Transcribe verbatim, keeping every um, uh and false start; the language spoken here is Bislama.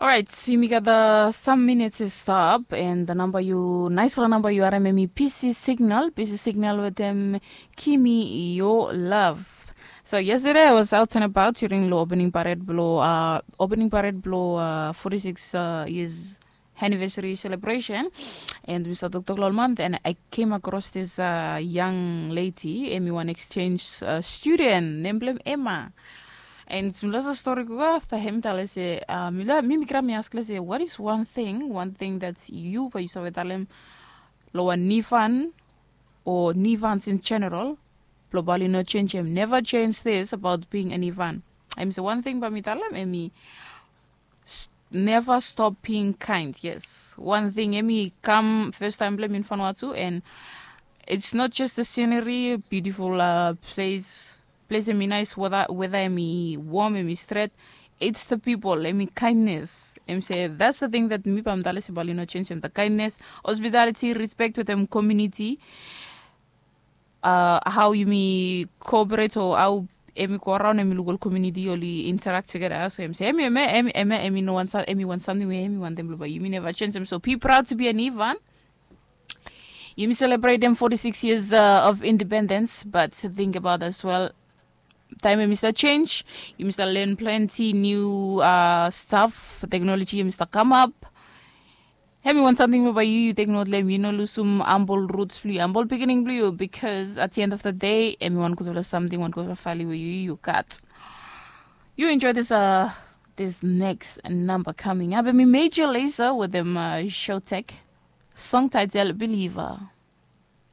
Orait, yumi gat sam minits i stap, and namba yu, naisfala namba yu harim, em i P C Signal. P C Signal wetem Kimi Yo Love. So yesterday I was out and about during lo opening parade blo uh, opening parade blo uh, forty-six uh, years anniversary celebration, and we start toktok lol month, and I came across this uh, young lady, em i wan exchange uh, student, nem blem Emma. And mi lasa story go after him tale se uh, mi la mi mi gram mi ask le se, what is one thing, one thing that you pa you save talem lo wan nifan or nifans in general, blo bali no change him, never change this about being a nifan. Em se one thing pa mi talem, em i never stop being kind. Yes, one thing, em i kam first time blem in Vanuatu, and it's not just the scenery, beautiful uh, place place em i nice, whether whether em i warm, em i stret, it's the people, em i kindness. Em se that's the thing that mi pa mi tale se bali no change em, the kindness, hospitality, respect with em community, uh, how yumi cooperate or how em i go around, em i luk ol community oli interact together. So em se em i em i em i em i em i no wan sa- em i wan something where em i wan dem blo bai yumi never change em. So be proud to be an Ivan. Yumi celebrate them forty-six years uh, of independence, but think about as well, time yumi start change, yumi start learn plenty new uh, stuff, technology yumi start come up. Em i wan something blo bai yu yu take note lo em, yu no lusum humble roots blo yu, humble beginning blo yu, because at the end of the day em i wan gudfala something, wan gudfala value we yu yu gat. You enjoy this uh this next number coming up. Em i Major Lazer with them uh, Showtech, song title Believer.